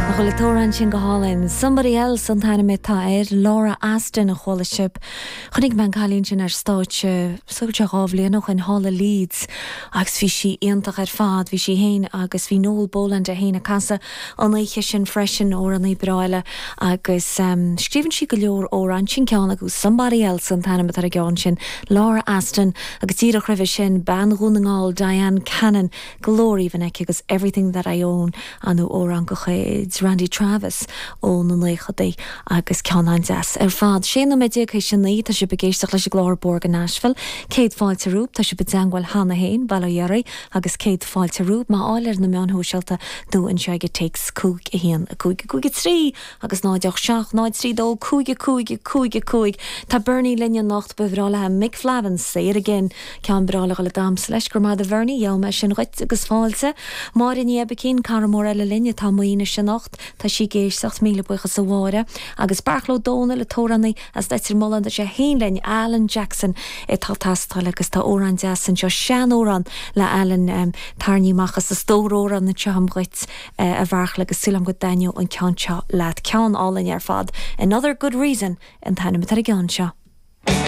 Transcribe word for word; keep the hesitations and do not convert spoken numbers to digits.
Bhfuil an t-amhrán sin go hálainn. Somebody else an t-ainm atá air Laura Aston a chuala sibh. Chonaic mé an cailín sin ar stáitse sé dhá bhliain ó shin thall i Leeds agus bhí sí iontach ar fad, bhí sí féin agus bhí Noel Boland é féin ag casadh an oíche sin freisin amhránaí breá eile agus um, scríobhann sí go leor amhrán sin ceann agus somebody else an t-ainm atá ar an gceann sin Laura Aston agus díreach roimhe sin bean Dhún na nGall Diane Cannon glór aoibhinn aici agus everything that I own an amhrán de chuid Randy Travis ó na naochadaí agus ceann an-deas ar fad. Sé nóiméad déag théis a naoi tá sibh ag éisteacht leis an gclár Bóthar go Nashville, Céad fáilte romhaibh tá sibh i dteagmháil cheana féin Bail ó Dhia oraibh agus céad fáilte romhaibh má fháil ar na meáin shóisialta nó anseo ag téacs cúig a haon a cúig a cúig a trí agus náid seacht náid trí dó cúig a cúig a cúig a cúig Tá Bernie linn anocht ba bhreá leis Mick Flavin Say It Again ceann breá le le damhsa leis go raibh maith Bernie Gheobhaidh mé sin dhuit agus fáilte. Máire Ní Ebicín cara mór eile linn atá maoine sin anocht Tá sí ag éisteacht míle buíochas a Mháire agus Beartla Ó Domhnaill amhránaí as Leitir Mealláin sé féin linn Alan Jackson atá ag teastáil agus tá amhrán deas anseo seanamhrán le Alan um, tarraingthe amach as a stór amhrán anseo dhuit uh, a Bheartla agus súil agam go dtaitneoidh an ceann seo leat ceann álainn ar fad. Another good reason an t-ainm atá ar an gceann seo.